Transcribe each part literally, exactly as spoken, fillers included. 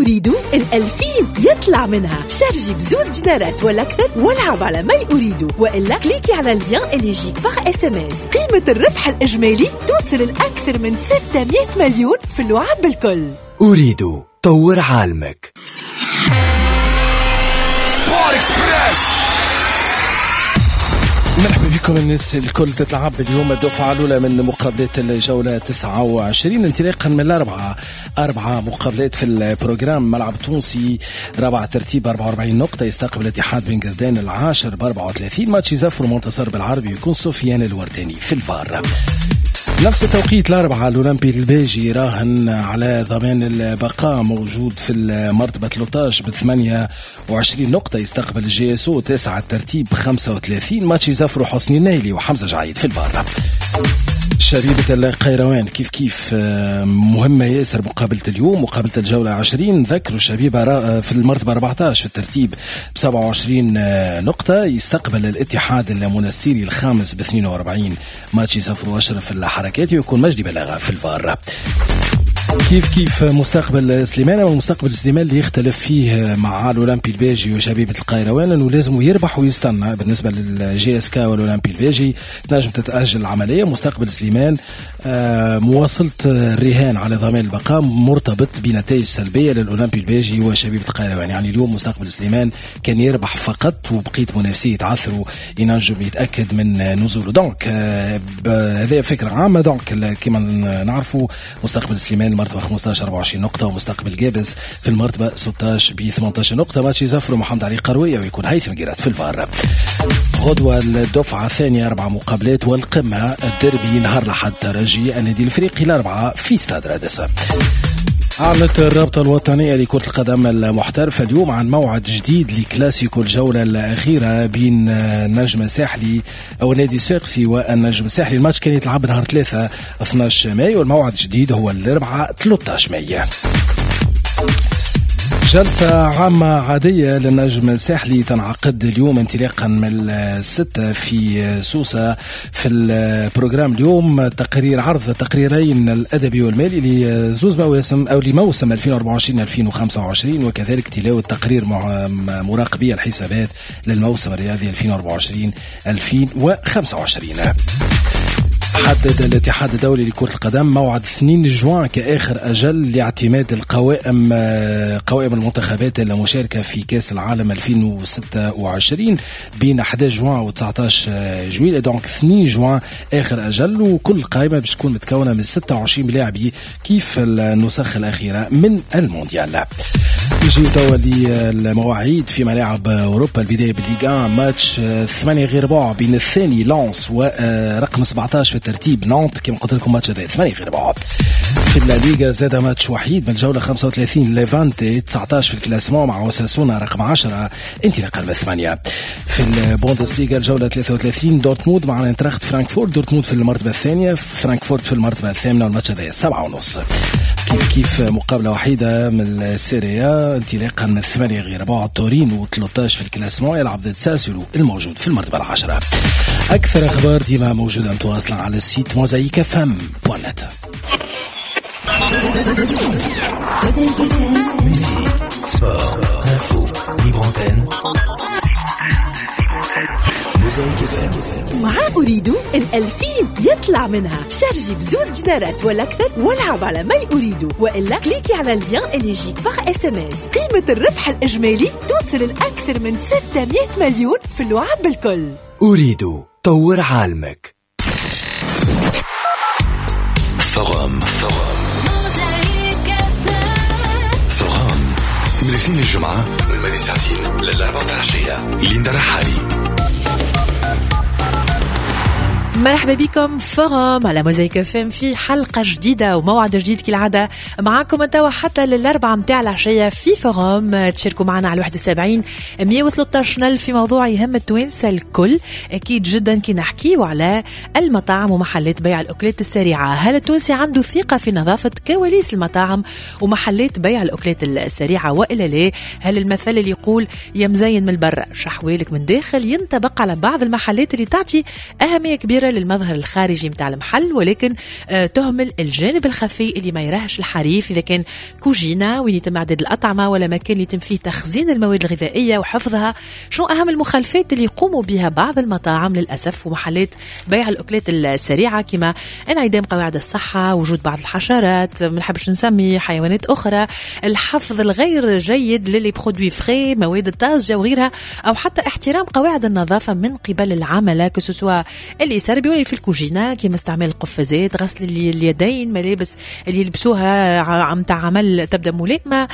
Ooredoo الألفين يطلع منها. شارجي بزوز دينارات ولا أكثر والعب على My Ooredoo، وإلا كليكي على ال lien اللي يجيك par SMS. قيمة الربح الإجمالي توصل لأكثر من ستمية مليون في اللعب الكل. Ooredoo، طور عالمك. Sport Express. مرحبا بكم الناس الكل. تتلعب اليوم الدفعة الأولى من مقابلات الجولة تسعة وعشرين انطلاقا من الأربعة، أربعة مقابلات في ال programme. ملعب تونسي رابع ترتيب أربعة وأربعين نقطة يستقبل اتحاد بن قردان العاشر ب أربعة وثلاثين. ماتش يزفر منتصر بالعربي يكون سفيان الورتاني في الفار. نفس التوقيت الأربعة الأولمبي الباجي راهن على ضمان البقاء موجود في المرتبة ثلاثة عشر ب ثمانية وعشرين نقطة يستقبل ال JSO تاسع الترتيب خمسة وثلاثين. ماتش يزفروا حسني النايلي وحمزة جعيد في البار. شبيبة القيروان كيف كيف مهمة ياسر مقابلة اليوم، مقابلة الجولة عشرين. ذكروا الشبيبة في المرتبة أربعة عشر في الترتيب ب سبعة وعشرين نقطة يستقبل الاتحاد المونستيري الخامس ب اثنين وأربعين. ماتش يسافروا أشرف الحركات ويكون مجدي بلاغة في الفار. كيف كيف مستقبل سليمان، ومستقبل سليمان اللي يختلف فيه مع الاولمبي الباجي وشبيبه القيروان انه لازم يربح ويستنى. بالنسبة لل JSK والاولمبي الباجي تنجم تتاجل العملية. مستقبل سليمان مواصلة الرهان على ضمان البقاء مرتبط بنتائج سلبية للاولمبي الباجي وشبيبه القيروان. يعني اليوم مستقبل سليمان كان يربح فقط وبقية منافسيه يتعثروا ينجم يتاكد من نزوله. donc هذه فكرة عامة. donc كما نعرفوا مستقبل سليمان المرتبة خمسة عشر أربعة وعشرين نقطة، ومستقبل جابس في المرتبة ستة عشر ب ثمانية عشر نقطة. ماتش يزفروا محمد علي قروية ويكون هيثم جيرات في الفار. غدوة الدفعة الثانية أربع مقابلات والقمة الدربي نهار لحد ترجي النادي الافريقي الأربعة في استاد رادس. أعلنت الرابطة الوطنية لكرة القدم المحترفة اليوم عن موعد جديد لكلاسيكو الجولة الأخيرة بين النجم الساحلي أو النادي الصفاقسي والنجم الساحلي. الماتش كان يتلعب نهار ثلاثة اثنا عشر مايو والموعد الجديد هو الأربعاء ثلاثة عشر مايو. جلسة عامة عادية للنجم الساحلي تنعقد اليوم انطلاقا من الستة في سوسة. في ال programme اليوم تقرير عرض تقريرين الأدبي والمالي لزوز مواسم أو لموسم ألفين وأربعة وعشرين ألفين وخمسة وعشرين، وكذلك تلاوة تقرير مراقبي الحسابات للموسم الرياضي ألفين وأربعة وعشرين ألفين وخمسة وعشرين. حدد الاتحاد الدولي لكرة القدم موعد اثنين جوان كآخر أجل لاعتماد القوائم قوائم المنتخبات المشاركة في كأس العالم ألفين وستة وعشرين بين أحد عشر جوان و تسعة عشر جويلية. donc اثنين جوان آخر أجل، وكل قائمة باش تكون متكونة من ستة وعشرين لاعب كيف النسخ الأخيرة من المونديال. نجيو توا للمواعيد في ملاعب أوروبا. البداية بال Ligue واحد، ماتش ثمانية غير ربع بين الثاني لانس ورقم سبعة عشر في الترتيب نانت. كما قلت لكم ماتش هذا ثمانية غير ربع. في الليغا زاد ماتش وحيد من الجولة خمسة وثلاثين، ليفانتي تسعة عشر في ال classement مع أوساسونا رقم عشرة انطلاقا من ثمانية. في البوندسليغا الجولة ثلاثة وثلاثين، دورتموند مع انتراخت فرانكفورت، دورتموند في المرتبة الثانية، فرانكفورت في المرتبة الثامنة، والماتش هذا سبعة ونص. كيف كيف مقابلة وحيدة من ال Serie A انطلاقا من ثمانية غير ربع، تورينو ثلاثة عشر في ال classement يلعب ضد ساسولو الموجود في المرتبة العاشرة. أكثر أخبار ديما موجودة متواصلة على ال site موزايك اف ام دوت نت. Musique, sport, info, libre antenne. مع Ooredoo الألفين يطلع منها. شارجي بزوز دينارات ولا أكثر والعب على My Ooredoo، وإلا كليكي على ال lien اللي يجيك par SMS. قيمة الربح الإجمالي توصل لأكثر من ستمية مليون في اللعب الكل. Ooredoo، طور عالمك. Forum Forum من الاثنين الجمعة من ساعتين للأربعة عشية. ليندا رحالي. مرحبا بكم Forum على موزايك اف ام في حلقة جديدة وموعد جديد كالعادة معاكم توا حتى للأربعة متاع العشية في Forum. تشاركوا معنا على واحد وسبعين مية وثلاثة عشر ألف في موضوع يهم التوانسة الكل. أكيد جدا كي نحكيو على المطاعم ومحلات بيع الأكلات السريعة. هل التونسي عنده ثقة في نظافة كواليس المطاعم ومحلات بيع الأكلات السريعة وإلا لا؟ هل المثل اللي يقول يا مزين من البر شحوالك من داخل ينطبق على بعض المحلات اللي تعطي أهمية كبيرة كبيرة للمظهر الخارجي متاع المحل، ولكن تهمل الجانب الخفي اللي ما يراهش الحريف، إذا كان كوجينة وين يتم إعداد الأطعمة ولا مكان يتم فيه تخزين المواد الغذائية وحفظها. شنو أهم المخالفات اللي يقوموا بها بعض المطاعم للأسف ومحلات بيع الأكلات السريعة، كما انعدام قواعد الصحة، وجود بعض الحشرات، ما نحبش نسمي حيوانات أخرى، الحفظ الغير جيد ل les produits frais، مواد الطازجة وغيرها، أو حتى احترام قواعد النظافة من قبل العملاء، que ce soit اللي يسربي ولا في الكوجينة، كما استعمال القفازات، غسل اليدين، ملابس اللي يلبسوها متاع عمل تبدأ ملائمة.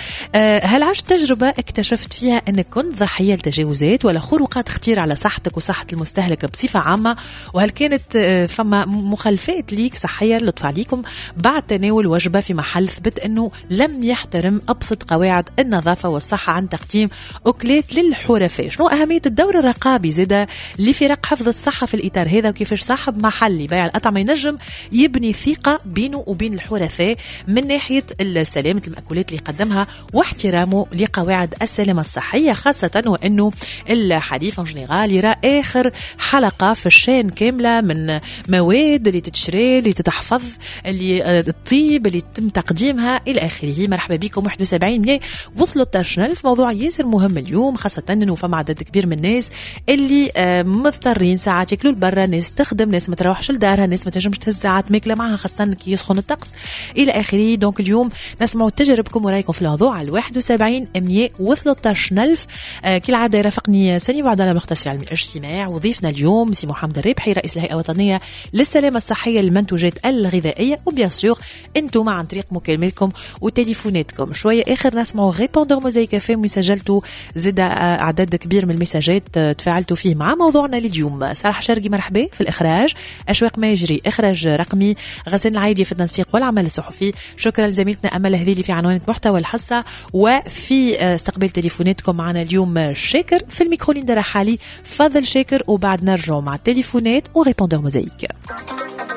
هل عشت تجربة اكتشفت فيها أنك كنت ضحية لتجاوزات ولا خروقات خطيرة على صحتك وصحة المستهلك بصفة عامة؟ وهل كانت فما مخالفات ليك صحية لطف عليكم بعد تناول وجبة في محل ثبت أنه لم يحترم أبسط قواعد النظافة والصحة عن تقديم أكلات للحرفاء؟ شنو أهمية الدور الرقابي زادة لفرق حفظ الصحة في الإطار هذا، وكيفاش صاحب محل بيع الأطعمة ينجم يبني ثقة بينه وبين الحرفاء من ناحية سلامة المأكولات اللي يقدمها واحترامه لقواعد السلامة الصحية، خاصة وأنه الحريف en général يرى آخر حلقة في ال chaîne كاملة من مواد اللي تتشري، اللي تتحفظ، اللي تطيب، اللي يتم تقديمها إلى آخره. مرحبا بكم واحد وسبعين مية وثلاثة عشر ألف. موضوع ياسر مهم اليوم، خاصة أنه فما عدد كبير من الناس اللي مضطرين ساعات ياكلوا لبرا، ناس تخدم، ناس ما تروحش لدارها، ناس ما تنجمش تهز ساعات ماكلة معها خاصة كي يسخن الطقس إلى آخره. donc اليوم نسمعوا تجاربكم ورايكم في الموضوع على واحد وسبعين مية وثلاثة عشر ألف. كالعادة يرافقني سني بعد مختص في علم الاجتماع، وضيفنا اليوم سي محمد الربحي رئيس الهيئة الوطنية للسلامة الصحية للمنتوجات الغذائية، و bien sûr انتم عن طريق مكالمتكم وتليفوناتكم. شوية آخر نسمعوا répondeur موزايك اف ام، وسجلتوا زاد أعداد كبير من المساجات تفاعلتوا فيه مع موضوعنا لليوم. صلاح شرقي مرحبا في الإخراج، أشواق ماجري إخراج رقمي، غسان العايدي في التنسيق والعمل الصحفي. شكرا لزميلتنا أمل هذيلي في عنوان محتوى الحصة، وفي استقبال تليفوناتكم معنا اليوم شاكر في الميكرو ليندا رحالي، فضل شاكر، وبعد نرجع مع التليفونات و répondeur موزايك.